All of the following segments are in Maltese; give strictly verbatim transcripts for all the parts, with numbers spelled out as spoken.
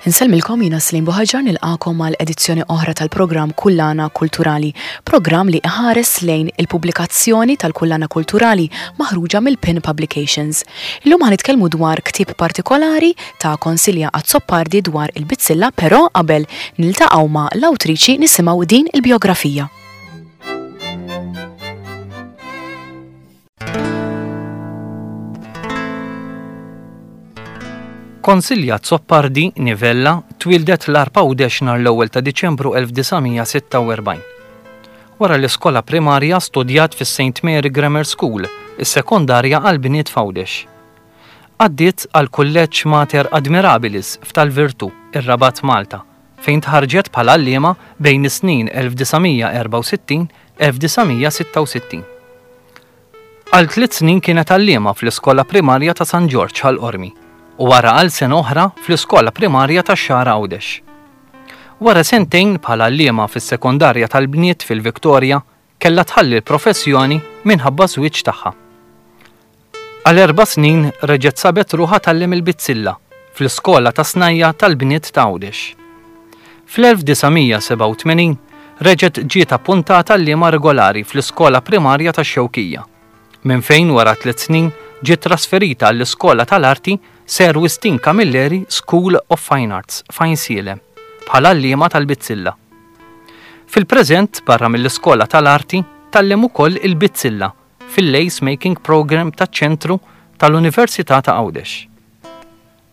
Insellmilkom, jiena Slim Buħaġar, nilqagħkom għal edizzjoni oħra tal-programm Kullana Kulturali, programm li iħares lejn il-pubblikazzjoni tal-Kullana Kulturali maħruġa mill-Pin Publications. Illum ħa nitkellmu dwar ktieb partikolari ta' Konsilja Azzopardi dwar il-bizzilla, però qabel niltaqgħu ma' l-awtriċi nisimgħu din il-biografija. Konsilja Azzopardi Nivella twildet l-Għarb Għawdex nhar l-ewwel ta' Diċembru elf disa' mija sitta u erbgħin. Wara l-iskola primarja studjat fis-Saint Mary Grammar School, is-sekondarja għall-bniet f'Għawdex. Għaddiet għal Kulleġġ Mater Admirabilis f'Tal-Virtu, ir-Rabat Malta, fejn tħarġet bħala għalliema bejn is-snin elf disa' mija erbgħa u sittin elf disa' mija sitta u sittin. Għal tliet snin kienet għalliema fl-iskola primarja ta' San Ġorġ Ħal Qormi u wara għal sena oħra fl-iskola primarja ta' Xagħra Għawdex. Wara sentejn bħala għalliema fis-sekondarja tal-bniet fil-Viktoria, kellha tħalli l-professjoni minħabba żwieġ tagħha. Għal erba' snin reġgħet sabet ruħha tgħallem il-bizzilla fl-iskola ta' snajja tal-bniet ta' Għawdex. Fl-elf disa' mija sebgħa u tmenin reġgħet ġiet appuntata għalliema regolari fl-iskola primarja tax-Xewkija, minn fejn wara tliet snin ġiet trasferita għall-iskola tal-arti Sir Wistin Camilleri School of Fine Arts f'Għajnsielem bħala għalliema tal-bizzilla. Fil-preżent, barra mill-iskola tal-arti, tgħallem ukoll il-bizzilla fil-Lace Making Program taċ-ċentru tal-Università ta' Għawdex.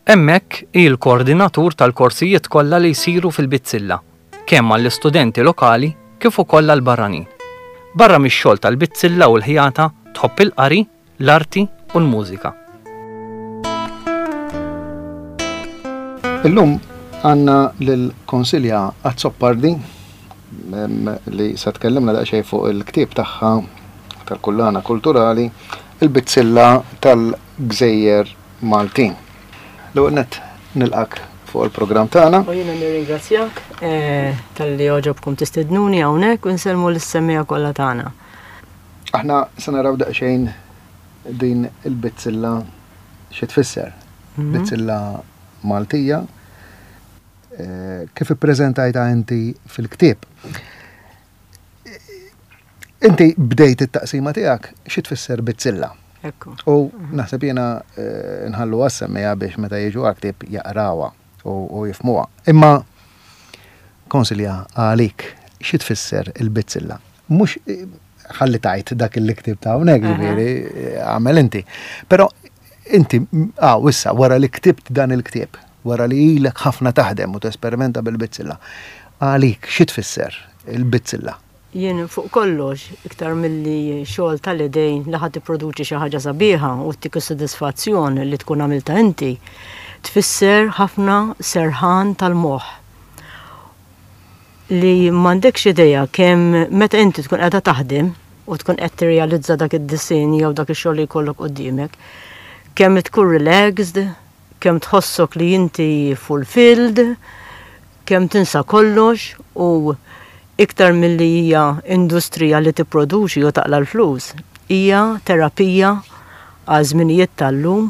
Hemmhekk hi l-koordinatur tal-korsijiet kollha li jsiru fil-bizzilla, kemm għall-istudenti lokali kif ukoll għall-barranin. Barra mix-xogħol tal-bizzilla u l-ħjata tħobb il-qari, l-arti u l-mużika. Illum għandna lil Konsilja Azzopardi, em, li se tkellimna daqsxejn fuq il-ktieb tagħha tal-Kullana Kulturali, il-bizzilla tal-Gżejjer Maltin. L-ewwel nett nilqak fuq il-programm tagħna. U jiena nirringrazzjak, eh, talli għoġobkom tistednuni hawnhekk u nsellmu lis-semmiegħa kollha tagħna. Aħna se naraw daqsxejn din il-bizzilla xi tfisser. Mhm. Bizzilla Maltija, eh, kif ippreżentajta inti fil-ktieb. Inti bdejt it-taqsima tiegħek xi tfisser bizzilla. Ekku. U naħseb jiena, eh, nħallu għas-semmiegħa biex meta jiġu għal-ktieb jaqrawha u, u jifhmuha. Imma Konsilja, għalik xi tfisser il-bizzilla? Mhux, eh, ħalli tajt dak il-ktieb ta' hawnhekk, Aha. ġifieri, eh, għamel inti. Però inti, ah, issa, wara li ktibt dan il-ktieb, wara li ilek ħafna taħdem u tesperimenta bil-bizzilla, għalik xi tfisser il-bizzilla? Jien fuq kollox, iktar milli xogħol tal-idejn li ħadd tipproduċi xi ħaġa sabiħa u ttik is-sodisfazzjon li tkun għamilta inti, tfisser ħafna serħan tal-moħħ. Li m'għandekx idea kemm meta inti tkun qiegħda taħdem u tkun qed tirrealizza dak id-disinn jew dak ix-xogħol li jkollok quddiemek, kemm tkun relaxed, kemm tħossok li inti fulfilled, kemm tinsa kollox u iktar milli hija industrija li tipproduċi u taqla l-flus, hija terapija għal żminijiet tal-lum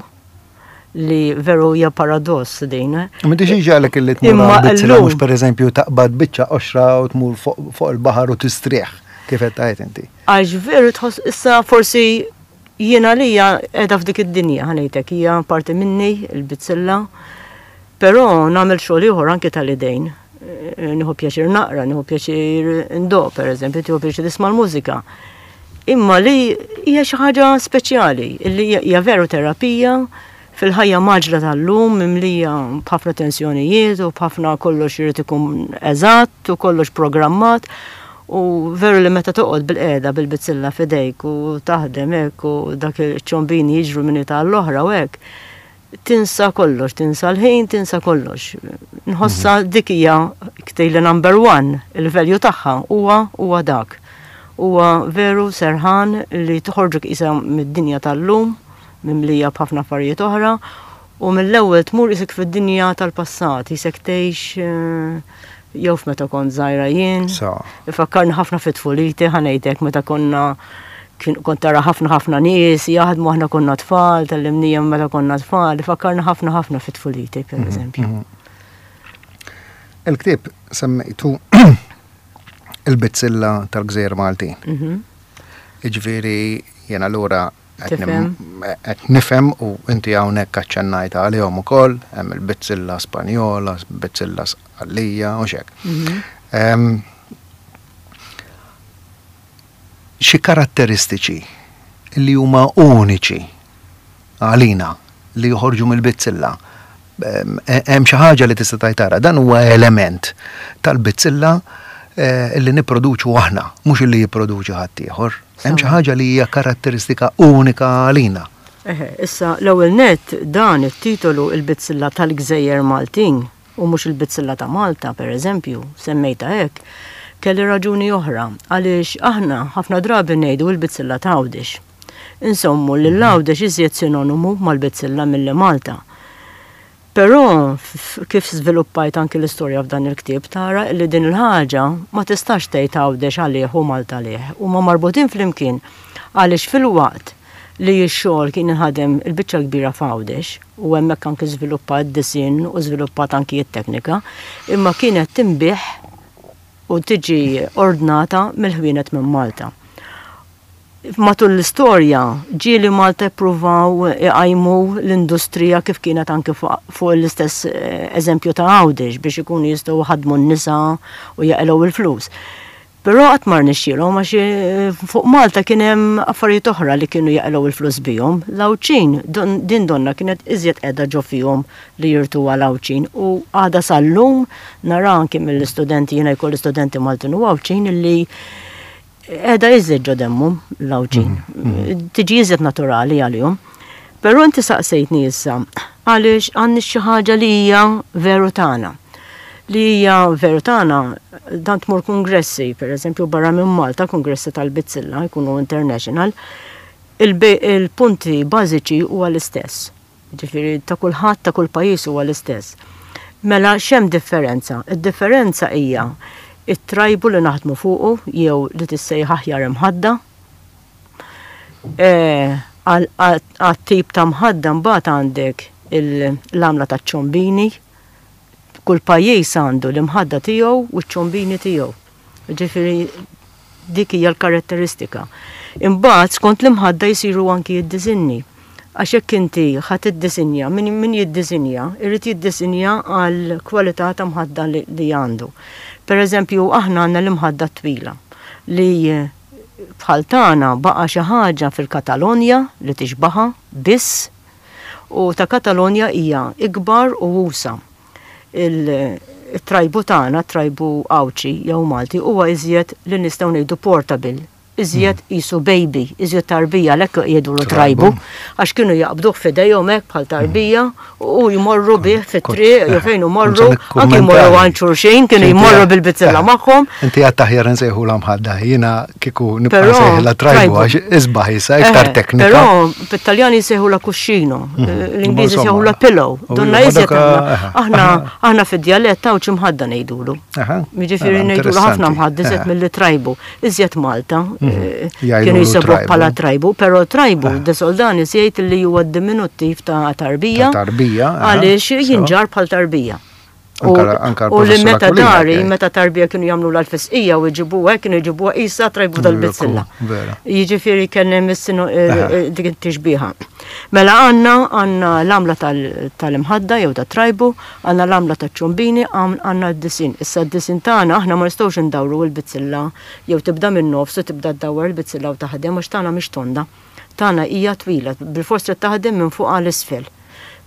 li veru hija paradoss din. Ma m'intix iġagħlek illi tmur Imma għal bizzilla llum mhux pereżempju taqbad biċċa qoxra u tmur fuq, fuq il-baħar u tistrieħ, kif qed tgħid inti. Għax veru tħoss issa forsi jiena lija qiegħda f'dik id-dinja, ħanejtek, hija parti minni il-bizzilla, però nagħmel xogħol ieħor anke tal-idejn. Eh, nieħu pjaċir naqra, nieħu pjaċir ndoq, pereżempju, tieħu pjaċir tisma' l-mużika. Imma li hija xi ħaġa speċjali, li hija, hija veru terapija fil-ħajja maġla tal-lum, mimlija b'ħafna tensjonijiet u b'ħafna kollox irid ikun eżatt u kollox programmat. U veru li meta toqgħod bil-qiegħda bil-bizzilla f'idejk u taħdem hekk u dak iċ-ċombini jiġru minn ta' l-oħra u hekk, tinsa kollox, tinsa l-ħin, tinsa kollox. Nħossa Mhm. dik hija ktejli number one, il-value tagħha huwa, huwa dak. Huwa veru serħan li toħorġuk qisha mid-dinja tal-lum, mimlija b'ħafna affarijiet oħra, u mill-ewwel tmur isek fid-dinja tal-passat, isek tgħix, eh, jew f'meta kont żgħira jien. Sa. Ifakkarni ħafna fit-tfuliti, ħanejtek meta konna kien kont tara ħafna ħafna nies jaħdmu, aħna konna tfal, tal-imnija meta konna tfal, ifakkarni ħafna ħafna fit-tfuliti, per Mhm, eżempju. mhm. Il-ktieb semmejtu Il-Bizzilla tal-Gżejjer Maltin. Mhm. Jiġifieri jien allura qed Tifhem. qed nifhem u inti hawnhekk aċċennajt għalihom ukoll, hemm il-bizzilla Spanjola, bizzilla Sqallija u xek. Mhm. Em, Xi karatteristiċi li huma uniċi għalina li joħorġu mill-bizzilla. Em, Hemm xi ħaġa li tista' tgħid dan huwa element tal-bizzilla eh, li nipproduċu aħna, mhux li jipproduċi ħadd ieħor. Hemm xi Sewa. ħaġa li hija karatteristika unika għalina. Eħe, issa l-ewwel net dan it-titolu il-bizzilla tal-Gżejjer Maltin u mhux il-bizzilla ta' Malta, per eżempju, semmejta hekk, kelli raġuni oħra għaliex aħna ħafna drabi ngħidu il-bizzilla ta' Għawdex. Insommu li l-Għawdex iżjed sinonimu mal-bizzilla milli Malta. Però f- kif żviluppajt anki l-istorja f'dan il-ktieb tara li din il-ħaġa ma tistax tgħid Għawdex għalih u Malta għalih huma marbutin flimkien għaliex fil-waqt li x-xogħol kien inħadem il-biċċa kbira f'Għawdex u hemmhekk anki żviluppat disinn u żviluppat anki t-teknika, imma kienet tinbiegħ u tiġi ordnata mill-ħwienet minn Malta. Matul l-istorja ġieli Malta ippruvaw iqajmu l-industrija kif kienet anke fuq fuq l-istess eh, eżempju ta' Għawdex biex ikunu jistgħu jħaddmu n-nisa u jaqilgħu il-flus. Però qatt ma rnexxielhom għax eh, fuq Malta kien hemm affarijiet oħra li kienu jaqilgħu il-flus bihom. L-Għawdxin don- din donna kienet iżjed qiegħda ġo fihom li jirtu għal Għawdxin u għada sal-lum nara anke mill-istudenti jiena jkolli studenti Maltin u Għawdxin illi qiegħda iżjed ġo demmhom l-Għawdxin. Tiġi iżjed naturali għalihom. Però inti saqsejtni issa għaliex għandni xi ħaġa li hija veru tagħna. Li hija veru tagħna dan tmur kongressi, per eżempju barra minn Malta, kongressi tal-Bizzilla jkunu international, il-be- il-punti bażiċi huwa l-istess. Ġifieri ta' kulħadd ta' kull pajjiż huwa l-istess. Mela x'hemm differenza? Id-differenza hija it-trajbu li naħdmu fuqu jew li tissejjaħ aħjar imħadda. Eh, Għal għat-tip ta' mħadda mbagħad għandek il- l-għamla ta' ċombini. Kull pajjiż għandu l-imħadda tiegħu u ċ-ċombini tiegħu. Ġifieri dik hija l-karatteristika. Imbagħad skont l-imħadda jsiru anki d-disinni. Għax hekk inti ħa tiddisinja, min, min jiddisinja, irid jiddisinja għal kwalità ta' mħadda li, li għandu. Per eżempju, aħna għandna l-imħadda twila li eh, bħal tagħna baqa' xi ħaġa fil-Katalonja li tixbaha biss u ta' Katalonja hija ikbar u usa. Il-trajbu tagħna, trajbu Għawdxi jew Malti, huwa iżjed li nistgħu ngħidu portable, iżjed qisu baby, iżjed tarbija, għalhekk jgħidulu trajbu, għax kienu jaqbduh f'idejhom hekk bħal tarbija u jmorru bih fit-triq jew fejn imorru, anki jmorru għand xulxin, kienu jmorru bil-bizzilla magħhom. Inti għad aħjar nsejħu mħadda, jiena kieku nibqa' Però, nsejħilha trajbu trajbu. għax isbaħ issa iktar Eh, teknika. Però bit-Taljani jsejħu la cuscino, l-Ingliżi Insomma. jsejħu la pillow. U Donna ma iżjed dak, aħna- eh, aħna aħna fid-djalett hawn mħadda ngħidulu. Aha, Jiġifieri mela, ngħidulu ħafna interessanti. mħadda iżjed Eh. milli trajbu, iżjed Malta. eh, Jgħidulu Kienu jsebuh trajbu. bħala trajbu, però trajbu De Soldanis jgħid li huwa diminuttiv ta' tarbija. Ta' tarbija, aha, Għaliex sewa. jinġar bħal tarbija. U Anka- anka u li l-professur meta Aquilina dari, jgħid. meta tarbija kienu jagħmlu l-fisqija u jġibuha, kienu jġibuha qisha trajbu tal-bizzilla. Vera. Jiġifieri kien hemm is-sinu eh, Aha. eh, dik it-tixbiha. Mela għandna għandna l-għamla tal- tal-imħadda jew tat-trajbu, għandna l-għamla taċ-ċombini, għandna d-disin. Issa d-disin tagħna aħna ma nistgħux indawru l-bizzilla jew tibda minn nofs u tibda ddawwar il-bizzilla u taħdem għax tagħna mhix tonda. Tagħna hija twila, bil-fors trid taħdem minn fuq għal isfel.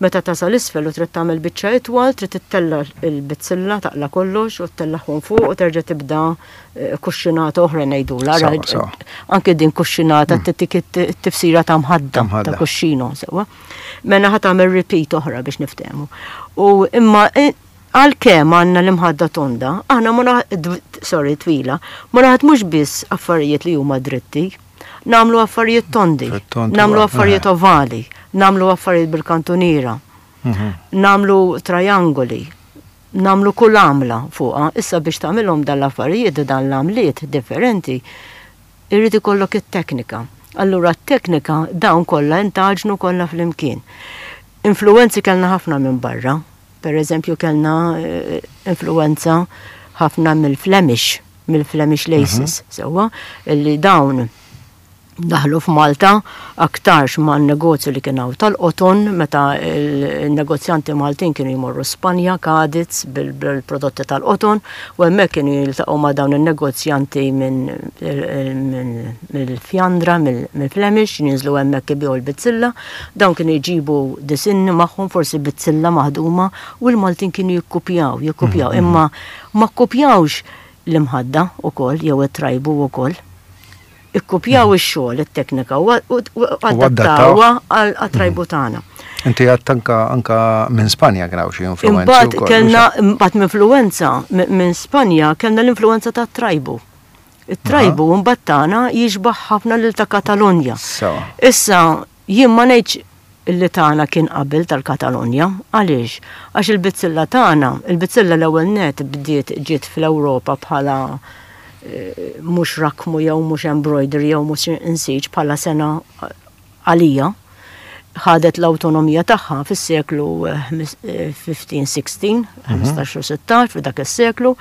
Meta tasal isfel u trid tagħmel biċċa itwal, trid ittella l-bizzilla taqla kollox u ttellagħhom fuq u terġa' tibda eh, kuxxinata oħra ngħidulha. Sawa, Ara, sawa. Anke din kuxxinata tittik it-tifsira ta' mħadda, Ta' mħadda. ta' kuxxino, sewa. Mela ħa tagħmel repeat oħra biex niftehmu. U imma eh, għalkemm għandna l-imħadda tonda, aħna ma naħ- dw- sorry, twila, ma naħdmux biss affarijiet li huma dritti, nagħmlu affarijiet tondi, Fit-tond nagħmlu huwa, affarijiet eh. ovali, nagħmlu affarijiet bil-kantuniera, Mhm. nagħmlu triangoli, nagħmlu kull għamla fuqha. Issa biex tagħmilhom dan l-affarijiet dan l-għamliet differenti, irrid ikollok it-teknika. Allura t-teknika dawn kollha intaġnu kollha flimkien. Influenzi kellna ħafna minn barra. Per eżempju, kellna influenza ħafna mill-Flemish, mill-Flemish laces, sewwa, illi dawn daħlu f'Malta aktarx ma' negozju li kien hawn tal-qoton, meta il-negozjanti Maltin kienu jmorru Spanja, Cadiz, bil-prodotti tal-qoton, u hemmhekk kienu jiltaqgħu ma' dawn il-negozjanti mill-Fjandra, mill-Flemish, jinżlu hemmhekk ibigħu l-bizzilla. Dawn kienu jġibu disinni magħhom, forsi bizzilla maħduma, u l-Maltin kienu jikkupjaw, jikkupjaw, imma ma kkupjawx l-imħadda ukoll jew it-trajbu ukoll. Ikkupjaw ix-xogħol, it-teknika u adattawha għat-trajbu tagħna. Inti għedt anka anka minn Spanja kien hawn xi influenza. Imbagħad kellna imbagħad influenza minn Spanja, kellna l-influenza tat-trajbu. It-trajbu mbagħad tagħna jixbaħ ħafna lil ta' Katalonja. Issa jien ma ngħidx li tagħna kien qabel tal-Katalonja. Għaliex? Għax il-bizzilla tagħna, il-bizzilla l-ewwel net bdiet ġiet fl-Ewropa bħala mhux rakmu jew mhux embroidery jew mhux insiġ, bħala sengħa għalija ħadet l-autonomija tagħha fis-seklu ħmistax sittax, ħmistax u sittax, f'dak is-seklu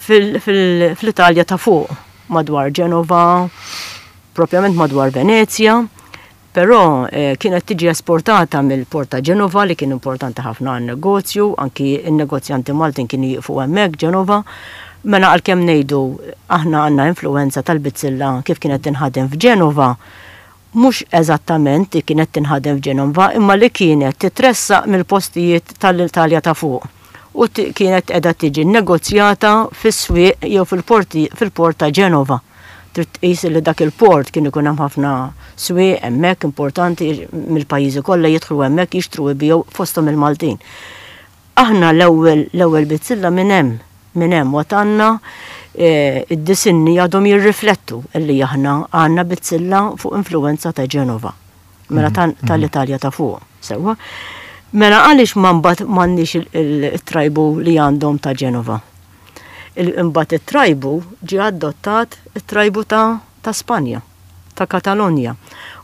fl-Italja ta' fuq, madwar Ġenova, propjament madwar Venezja, però kienet tiġi esportata mill-port ta' Ġenova, li kien importanti ħafna għan-negozju, anki n-negozjanti Maltin kienu jiqfu hemmhekk Ġenova. Mela għalkemm ngħidu aħna għandna influenza tal-bizzilla kif kienet tinħadem f'Ġenova, mhux eżattament li kienet tinħadem f'Ġenova, imma li kienet titressaq mill-postijiet tal-Italja ta' fuq. U kienet qiegħda tiġi negozjata fis-swieq jew fil-porti fil-port ta' Ġenova. Trid tqis li dak il-port kien ikun hemm ħafna swieq hemmhekk importanti mill-pajjiżi kollha, jidħlu hemmhekk jixtru, jbigħu, fosthom il-Maltin. Aħna l-ewwel l-ewwel bizzilla minn hemm minn hemm watanna id-disinni għadhom jirriflettu li aħna għandna bizzilla fuq influenza ta' Ġenova. Mela tal-Italja ta' fuq, sewwa. Mela għaliex ma mbagħad m'għandniex il-trajbu li għandhom ta' Ġenova? Imbagħad it-trajbu ġie adottat, it-trajbu ta' ta' Spanja, ta' Katalonja.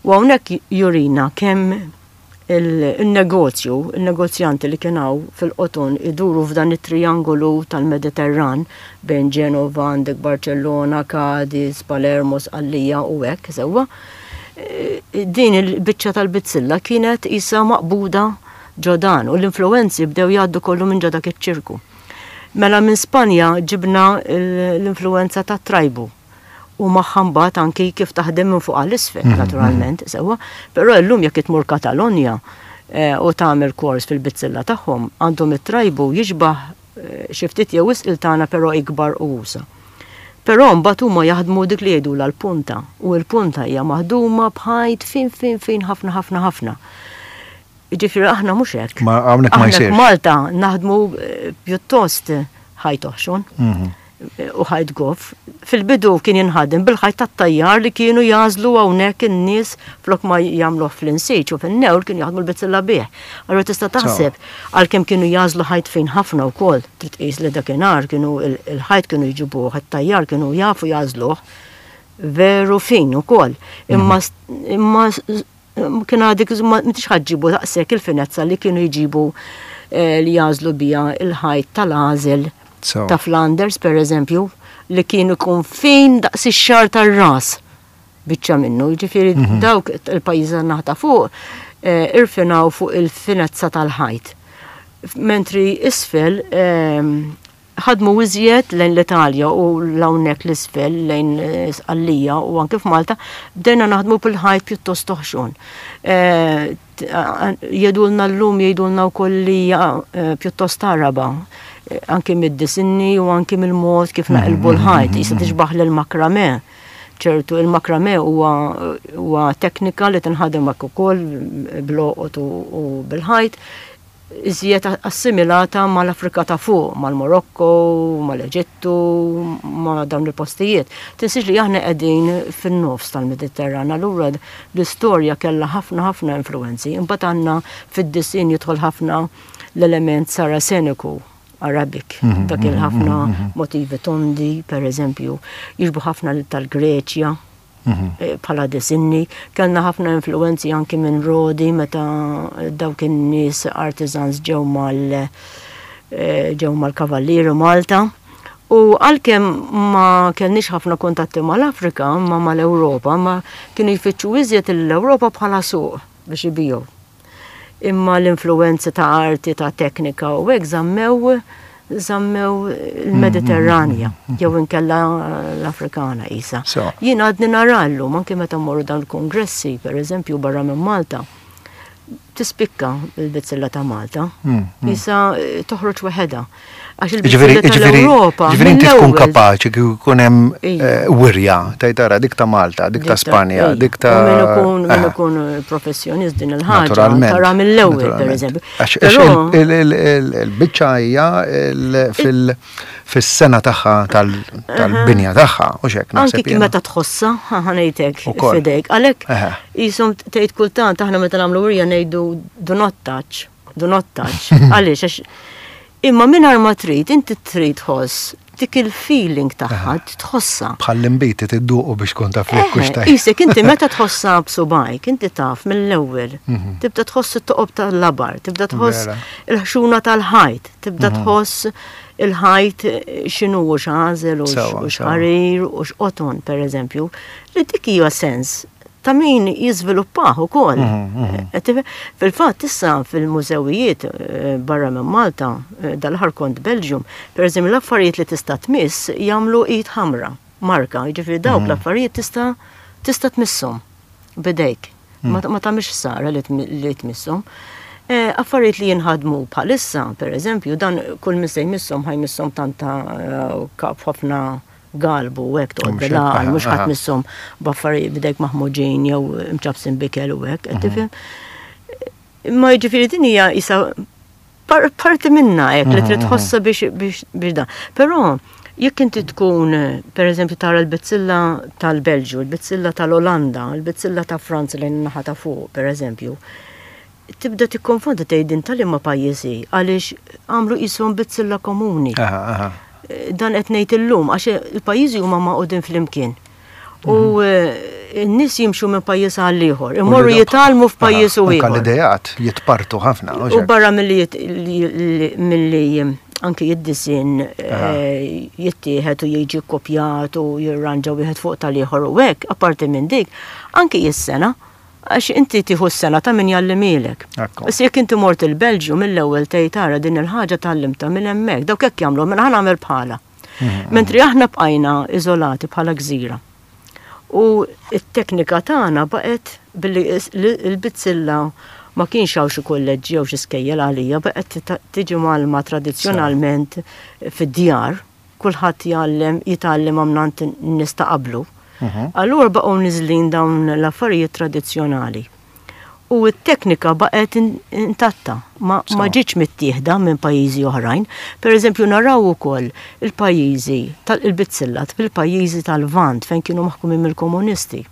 U hawnhekk jurina kemm il-negozju, il-negozjanti li kien hawn fil-qoton iduru f'dan it-triangolu tal-Mediterran bejn Ġenova, għandek Barcellona, Cadiz, Palermo, Sqallija u hekk, sewwa. Din il-biċċa tal-bizzilla kienet isa maqbuda ġo dan u l-influenzi bdew jgħaddu kollu minn ġo dak iċ-ċirku. Mela minn Spanja ġibna l-influenza ta' trajbu u magħha mbagħad anki kif taħdem minn fuq għal isfel, naturalment, sewwa. Però llum jekk tmur Katalonja u tagħmel kors fil-bizzilla tagħhom, għandhom it-trajbu jixbaħ xi ftit jew wisq il-tagħna, però ikbar u usa. Però mbagħad huma jaħdmu dik li jgħidu l-punta, u l-punta hija maħduma b'ħajt fin fin fin ħafna ħafna ħafna. Ġifieri aħna mhux hekk. Ma hawnhekk ma Aħna jsirx. f'Malta naħdmu pjuttost ħajt oħxon u ħajt goff. Fil-bidu kien jinħadem bil-ħajt tat-tajjar li kienu jagħżlu hawnhekk in-nies, flok ma jagħmluh fl-insiġ u fin-newl, kienu jaħdmu l-bizzilla bih. Allura tista' taħseb għalkemm kienu jagħżlu ħajt fin ħafna wkoll, trid tqis li dakinhar kienu il-ħajt kienu jġibuh, it-tajjar kienu jafu jagħżluh veru fin ukoll. Imma imma kien għadik ma m'intix ħa ġġibu daqshekk il-finezza li kienu jġibu li jagħżlu bija il-ħajt tal-għażel ta' Flanders, per eżempju, li kienu jkun fin daqs ix-xagħar tar-ras biċċa minnu. Ġifieri dawk il-pajjiżi naħa ta' fuq irfinaw fuq il-finezza tal-ħajt. Mentri isfel ħadmu iżjed lejn l-Italja u l-hawnhekk l-isfel lejn Sqallija u anke f'Malta bdejna naħdmu bil-ħajt pjuttost oħxon. Jgħidulna llum, jgħidulna wkoll li pjuttost Araba, anki mid-disinni u anki mill-mod kif naqilbu l-ħajt, jista' tixbaħ lil-makrame. ċertu il-makrame huwa teknika li tinħadem hekk ukoll bl-għoqod u bil-ħajt, iżjed assimilata mal-Afrika ta' fuq, mal-Marokko, mal-Eġittu, ma' dawn il-postijiet. Tinsiex li aħna qegħdin fin-nofs tal-Mediterran, allura l-istorja kellha ħafna ħafna influenzi. Imbagħad għandna fid-disin jidħol ħafna l-element saraseniku, Arabic, dak il-ħafna motivi tondi, per eżempju, jixbhu ħafna tal-Greċja. Eh, bħala disinni. Kellna ħafna influenzi anki minn Rodi meta dawk in-nies artisans ġew mal eh, ġew mal-Kavallieri Malta. U għalkemm ma kellniex ħafna kuntatti mal-Afrika, ma mal-Ewropa, ma kienu jfittxu iżjed l-Ewropa bħala suq biex ibiegħu. Imma l-influenzi ta' arti, ta' teknika u hekk żammew żammew il-Mediterranja, jew inkella l-Afrikana isa. So. Jien għadni nara llum, anke meta mmorru dan il-kongressi, per eżempju, barra minn Malta, tispikka il-bizzilla ta' Malta. Isa eh, toħroġ waħedha. Għax Ġifieri, il-bizzilla ġifieri, tal-Ewropa. ġifieri inti tkun mill-ewwel- kapaċi kieku jkun hemm Ija. eh, wirja, tgħid tara dik ta' Malta, dik ta' Spanja, Ija. dik ta' U min ikun min Eh, ikun professjonist din il-ħaġa, Naturalment. tara mill-ewwel, per naturalment. eżempju. Għax għax Però il- il- il- il-biċċa hija il- fil- fis-sena tagħha tal- tal-binja tagħha, u xek Anki naħseb kif jiena. meta tħossa, ħa ngħidlek Ukoll. f'idejk. Għalhekk Eħe. jisom tgħid kultant aħna meta nagħmlu wirja ngħidu do not touch, do not touch. Għaliex għax imma mingħajr ma trid, inti trid tħoss dik il-feeling tagħha tħossa. Bħall-imbiti tidduqu biex tkun taf li kux Eħe, tajt. Isek inti meta tħossa b'subajk, inti taf mill-ewwel. Tibda tħoss it-toqob tal-labar, tibda tħoss Vera. il-ħxuna tal-ħajt, tibda tħoss il-ħajt x'inhu u x'għażel u Sewa, sewa. x'ħarir u x'qoton, per eżempju, li dik hija sens ta' min jiżviluppah ukoll. Eh, tif- Fil-fatt issa fil-mużewijiet eh, barra minn Malta, eh, dal-aħħar kont Belgium, per eżempju l-affarijiet li tista' tmiss jagħmlu id ħamra, marka, jiġifieri dawk l-affarijiet tista' tista' tmisshom bidejk. Ma ma tagħmilx ħsara li tmi- li tmisshom. Eh, Affarijiet li jinħadmu bħalissa, per eżempju, dan kull min se jmisshom ħa jmisshom tanta eh, kap ħafna galbu u hekk toqgħod Mhux hekk, bil-għaqal, aha, mhux ħadd aha. misshom b'affarijiet bidejk maħmuġin jew imċabsin b'ikel u hekk, qed tifhem? Imma jiġifieri din hija isa par- parti minna hekk li trid tħossha biex biex biex dan. Però jekk inti tkun, per eżempju, tara l-bizzilla tal-Belġju, l-bizzilla tal-Olanda, l-bizzilla ta' Franza lejn naħa ta' fuq, per eżempju, tibda tikkonfondi tgħid din tal-imma pajjiżi għaliex għamlu qishom bizzilla komuni. Aha, aha. Dan qed ngħid illum għax il-pajjiżi huma magħqudin flimkien. U eh, n-nies jimxu minn pajjiż għal ieħor, imorru U li- jitgħallmu f'pajjiż u Anka ieħor. l-idejat jitpartu ħafna. u U xek. barra milli jit- li- li- milli anki id-disin eh, jittieħed u jiġi kopjat u jirranġa wieħed fuq tal-ieħor u hekk, apparti minn dik, anki is-sengħa, għax inti tieħu s-sengħa ta' min jgħallimhielek. Ekku. Issa jekk inti mort il-Belġju mill-ewwel tgħid tara din il-ħaġa tgħallimtha minn hemmhekk, dawk hekk jagħmlu, mela ħa nagħmel bħala. Mentri aħna bqajna iżolati bħala gżira. U it-teknika tagħna baqgħet billi is- li- il-bizzilla ma kienx hawn xi kolleġġi jew xi skejjel għalija, baqgħet ta- tiġi mgħallma tradizzjonalment fid-djar, kulħadd jgħallem jitgħallem mingħand in-nies ta' qablu. Allura baqgħu niżlin dawn l-affarijiet tradizzjonali. U t-teknika baqgħet in- intatta, ma, ma ġietx mittieħda minn pajjiżi oħrajn. Per eżempju, naraw ukoll il-pajjiżi tal-bizzilla fil-pajjiżi tal-Lvant fejn kienu maħkumin mill-komunisti.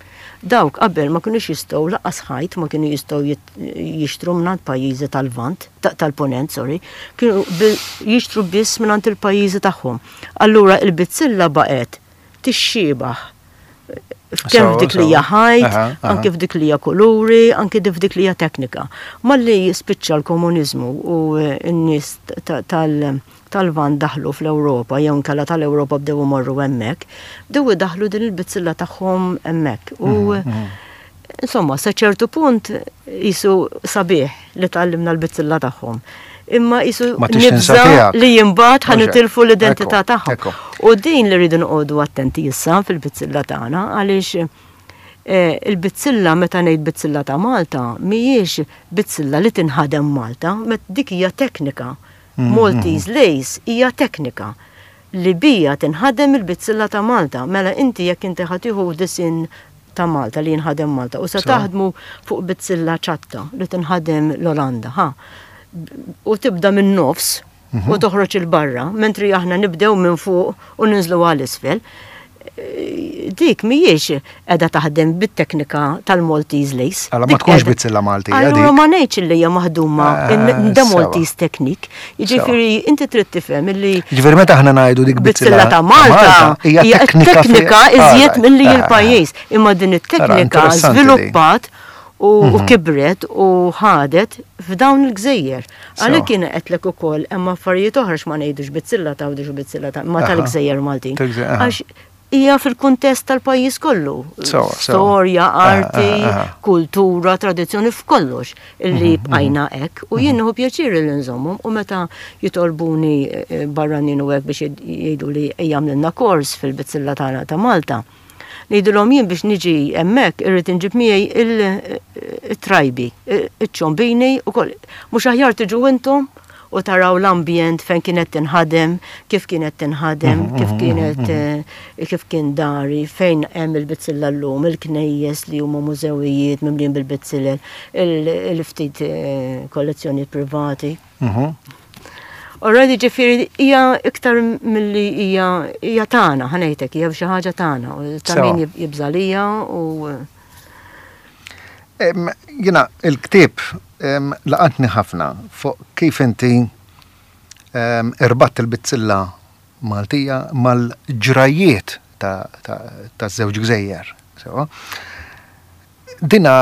Dawk qabel ma kienux jistgħu lanqas ħajt ma kienu jistgħu jit- jixtru mingħand pajjiżi tal-Lvant, ta- tal-Ponent, sorry, kienu bil- jixtru biss mingħand il-pajjiżi tagħhom. Allura il-bizzilla baqgħet tixxiebaħ kemm Sewa, f'dik li hija sewa. ħajt, Aha, aha. anke f'dik li hija kuluri, anke f'dik li hija teknika. Malli spiċċa l-komuniżmu u eh, n-nies ta- tal- tal-Lvant daħlu fl-Ewropa, jew inkella tal-Ewropa bdew imorru hemmhekk, bdew idaħlu din il-bizzilla tagħhom hemmhekk. U Mhm, insomma, sa ċertu punt jisu sabiħ li tgħallimna l-bizzilla tagħhom. Imma jisu Ma tix tinsa nibża tiegħek. li jimbagħad ħa Mhux hekk. nitilfu l-identità Ekku, tagħhom. ekku. U din li rridu noqogħdu attenti issa fil-bizzilla tagħna għaliex eh, il-bizzilla meta ngħid bizzilla ta' Malta mhijiex bizzilla li tinħadem Malta, met dik hija teknika. Maltese lace hija teknika li bija tinħadem il-bizzilla ta' Malta. Mela inti jekk inti ħa tieħu disin ta' Malta li jinħadem Malta u se Sewa. taħdmu fuq bizzilla ċatta li tinħadem l-Olanda, ha. U tibda minn nofs u toħroġ il-barra, mentri aħna nibdew minn fuq u ninżlu għal isfel. Dik mhijiex qiegħda taħdem bit-teknika tal-Maltese lace. Alla ma tkunx bizzilla Maltija. Allura ma ngħidx li hija maħduma ah, the Maltese technique. Jiġifieri inti trid tifhem illi. Jiġifieri meta aħna ngħidu dik bizzilla ta' Malta hija teknika iżjed milli ah, il-pajjiż. Imma din it-teknika żviluppat u mhm. kibret u ħadet f'dawn il-gżejjer. Għalhekk kien qedlek ukoll hemm affarijiet oħra x'ma ngħidux bizzilla ta' u bizzilla ta' ma tal-gżejjer Maltin. Għax hija fil-kuntest tal-pajjiż kollu. Storja, arti, kultura, tradizzjoni, f'kollox illi mhm, mhm. bqajna hekk u jien nieħu pjaċir li nżommhom u meta jitolbuni eh, barranin u hekk biex jgħidu li jagħmlilna kors fil-bizzilla tagħna ta' Malta. Ngħidilhom jien biex niġi hemmhekk irrid inġib miegħi il-trajbi, iċ-ċombini u koll. Mhux aħjar tiġu intom u taraw l-ambjent fejn kienet tinħadem, kif kienet tinħadem, mhm, kif mhm, kienet mhm, eh, kif kien dari, fejn hemm il-bizzilla llum, il-knejjes li huma mużewijiet mimlin bil-bizzillel, il-ftit eh, kollezzjoni privati. Already ġifieri hija iktar milli hija hija tagħna, ħa ngħidlek, hija xi ħaġa tagħna, ta' min jibżalija u Jiena il-ktieb laqatni ħafna fuq kif inti irbatt il-bizzilla Maltija mal-ġrajiet ta' żewġ gżejjer. Dina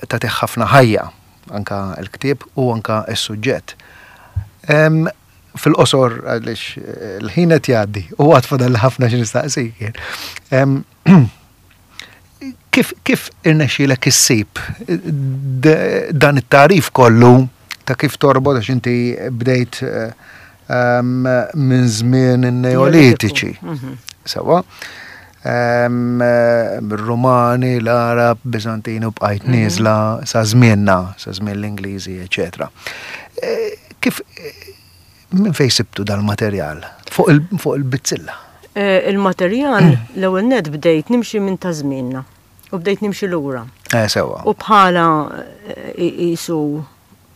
tagħtih ħafna ħajja anka l-ktieb u anka s-suġġett. Fil-qosor għaliex l-ħin qed jgħaddi u għad fadal ħafna xi nistaqsik. Kif kif irnexxielek issib dan it-tarif kollu ta' kif torbot, għax inti bdejt minn żmien in-Neolitiċi. Mhm. Sewa. Romani, l-Arab, Bizantini u bqajt mhm. nieżla sa żmienna, sa żmien l-Ingliżi, eċetera. E, kif minn fejn sibtu dal-materjal fuq il-bizzilla? E, il-materjal l-ewwel net bdejt nimxi minn ta' żmienna u bdejt nimxi lura. Eh, sewa. U bħala jisu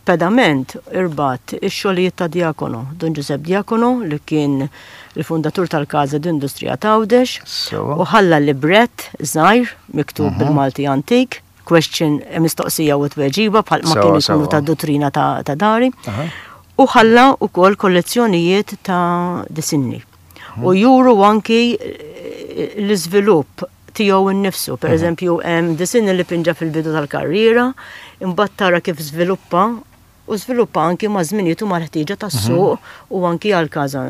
pedament irbat ix-xogħlijiet ta' Diacono, Dun Giuseppe Diacono, li kien il-fundatur tal-Casa d'Industria ta' Għawdex, u ħalla librett żgħir miktub mhm. bil-Malti antik, question, mistoqsija u tweġiba bħal ma kienu jkunu ta' dottrina ta' dari. U ħalla wkoll kollezzjonijiet ta' disinni. Mhm. U juru anki l-iżvilupp tiegħu nnifsu. Per mhm. eżempju, hemm disinni li pinġa fil-bidu tal-karriera, imbagħad tara kif żviluppa u żviluppa anki ma' żminijiet u mal-ħtieġa tas-suq mhm. u anki għal Casa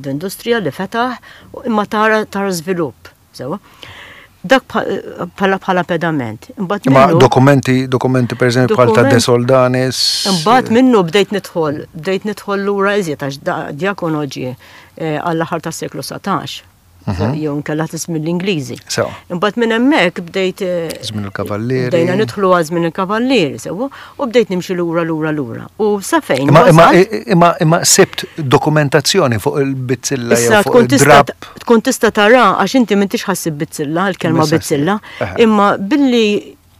d'Industrija li fetaħ, imma tara tara żvilupp. Sewa. Dak bħala bħala pedament. Imbagħad Ma dokumenti, dokumenti per eżempju bħal ta' De Soldanis. Imbagħad minnu bdejt nidħol, bdejt nidħol lura iżjed għax Diacono ġie eh, għall-aħħar tas-seklu satax. Mhm. Jew nkella tismin l-Ingliżi. Imbagħad minn hemmhekk bdejt eh, Żmien il-Kavallieri. Bdejna nidħlu għal żmien il-Kavallieri, sewwa, u bdejt nimxi lura lura lura. U sa fejn Imma imma imma imma sibt dokumentazzjoni fuq il-bizzilla jew fuq id-drab. Tkun tista' tara għax inti m'intix ħassib bizzilla, il-kelma bizzilla, imma billi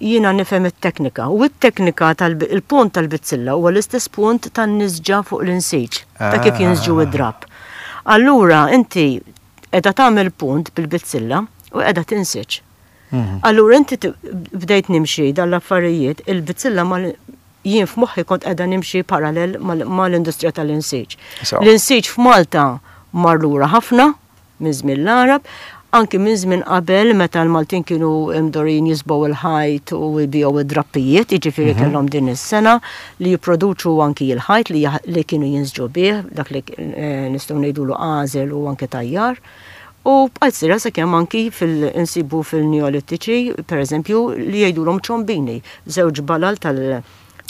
jiena nifhem it-teknika. U it-teknika tal-punt tal-bizzilla huwa l-istess punt tan-nisġa fuq l-insiġ, ta' kif jinsġu id-drab. Allura inti qiegħda tagħmel punt bil-bizzilla u qiegħda tinsiġ. Mhm. Allura inti bdejt nimxi dan l-affarijiet, il-bizzilla mal jien f'moħħi kont qiegħda nimxi parallel mal-industrija tal-insiġ. L-insiġ f'Malta mar lura ħafna minn żmien l-Arab, anki minn żmien qabel meta l-Maltin kienu mdorin jisbgħu il-ħajt u jbigħu id-drappijiet, jiġifieri mhm. kellhom din is-sena li jipproduċu anki l-ħajt li, li kienu jinsġu bih, dak li eh, nistgħu ngħidulu għażel u anki tajjar. U bqajt sira sakemm anki fil-insibu fil-Neolitiċi, per eżempju, li jgħidulhom ċombini, żewġ balal tal-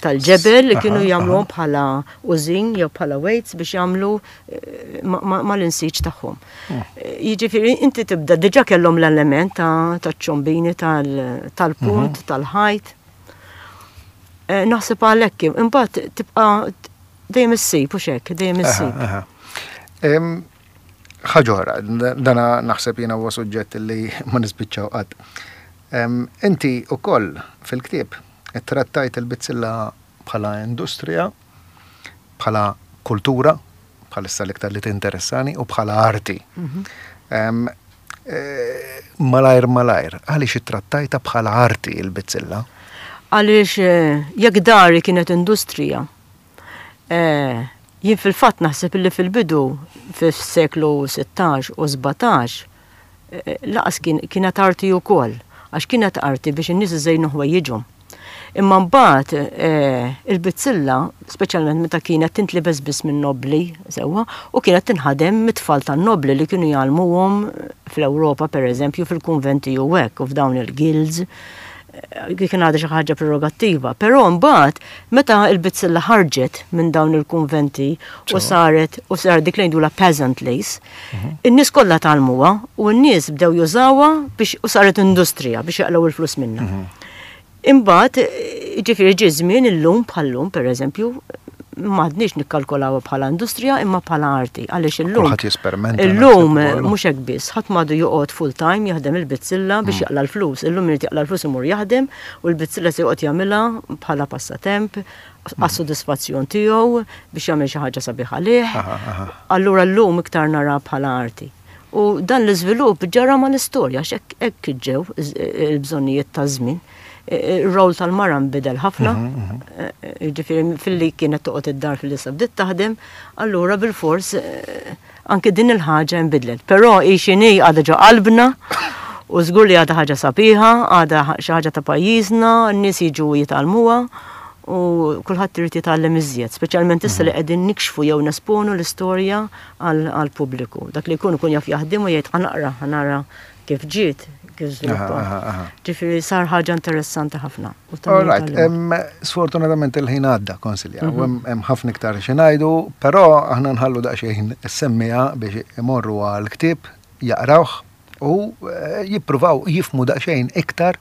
tal-ġebel li kienu jagħmluhom bħala użin jew bħala weights biex jagħmlu eh, mal-insiġ tagħhom. Hmm. Eh, jiġifieri inti tibda diġà kellhom l-element ta' ċombini tal-punt, mhm. tal-ħajt. Eh, naħseb għalhekk imbagħad tibqa' dejjem issib u xek, dejjem issib. Ħaġa oħra, dana naħseb jiena huwa suġġett li ma nispiċċaw qatt. Inti wkoll fil-ktieb ittrattajt il-bizzilla bħala industrija, bħala kultura, bħalissa l-iktar li tinteressani, u bħala arti. Mhm. Eh, Malajr malajr, għaliex ittrattajtha bħala arti il-bizzilla? Għaliex eh, jekk dari kienet industrija, eh, jien fil-fatt naħseb illi fil-bidu fis-seklu sittax u sbatax, eh, laqas kienet arti wkoll, għax kienet arti biex in-nies iżejnu ħwejjiġhom. Imma mbagħad eh, il-bizzilla, speċjalment meta kienet tintlibes biss minn nobli, sewwa, u kienet tinħadem mit-tfal tan-nobli li kienu jgħallmuhom fl-Ewropa, pereżempju, fil-kunventi u hekk, u f'dawn il-guilds, eh, kien għadha xi ħaġa prerogattiva. Però mbagħad meta l-bizzilla ħarġet minn dawn il-kunventi u saret u saret dik li ngħidulha peasant lace, mhm. in-nies kollha tgħallmuha u n-nies bdew jużawha biex u saret industrija biex jaqlgħu il-flus minnha. Mhm. Imbagħad, ġifieri ġie żmien illum bħallum, pereżempju, m'għadniex nikkalkulawha bħala industrija imma bħala arti. Għaliex illum. Kulħadd jesperimenta. Illum mhux hekk biss, ħadd m'għadu joqgħod full time jaħdem il-bizzilla biex mm. jaqla l-flus. Illum irid jaqla l-flus imur jaħdem u l-bizzilla se joqgħod jagħmilha bħala passatemp mm. għas-sodisfazzjon tiegħu biex jagħmel xi ħaġa sabiħa għalih. Allura llum iktar nara bħala arti. U dan l-iżvilupp ġara mal-istorja, għax hekk ġew il-bżonnijiet taż-żmien. Ir-rol tal-mara nbidel ħafna, mhm, mhm. Eh, ġifieri filli kienet toqgħod id-dar filli sa bdiet taħdem, allura bil-fors eh, anke din il-ħaġa nbidlet. Però hi x'inhi għadha ġo qalbna u żgur li għadha ħaġa sabiħa, għadha xi ħaġa ta' pajjiżna, n-nies jiġu jitgħallmuha u kulħadd irid jitgħallem iżjed, speċjalment issa li mhm. qegħdin nikxfu jew nesponu l-istorja għall-pubbliku. Dak li jkun ikun jaf jaħdem u jgħid ħa naqra, ħa nara kif ġiet, kif żviluppat. Ġifieri sar ħaġa interessanti ħafna. All right, sfortunatament il-ħin għadda, Konsilja, u mhm. hemm ħafna iktar xi ngħidu, però aħna nħallu daqsxejn is-semmiegħa biex imorru għall-ktieb, jaqrawh u eh, jippruvaw jifhmu daqsxejn iktar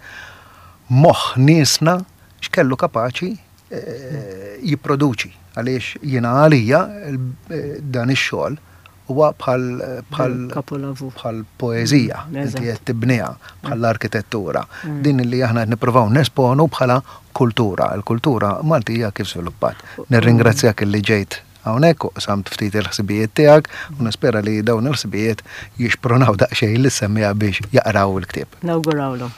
moħħ niesna x'kellu kapaċi eh, jipproduċi għaliex jiena għalija eh, dan ix-xogħol huwa bħal bħal Kapolavur. bħal poeżija, Mm, inti eżatt. qed tibniha bħal arkitettura. Din li aħna qed nippruvaw nesponu bħala kultura, il-kultura Maltija kif żviluppat. Nirringrazzjak li ġejt hawnhekk u qsamt ftit il-ħsibijiet tiegħek u nispera li dawn il-ħsibijiet jixpronaw daqsxejn lis-semmiegħa biex jaqraw il-ktieb. Nawgurawlhom.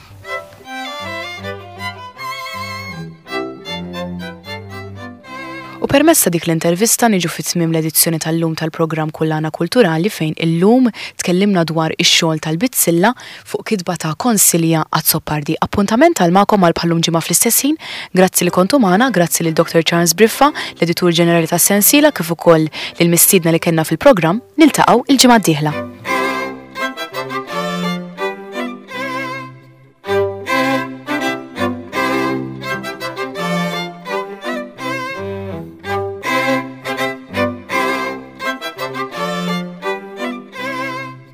U permezz ta' dik l-intervista niġu fit tmiem l-edizzjoni tal-lum tal-programm Kullana Kulturali fejn illum tkellimna dwar ix-xogħol tal-Bizzilla fuq kitba ta' Konsilja Azzopardi. Appuntament għal magħkom għal bħallum ġimgħa fl-istess ħin. Grazzi li kontu magħna, grazzi lil Dr Charles Briffa, l-editur ġenerali tas-Sensiela, kif ukoll lil mistiedna li kellna fil-programm. Niltaqgħu il-ġimgħa d-dieħla.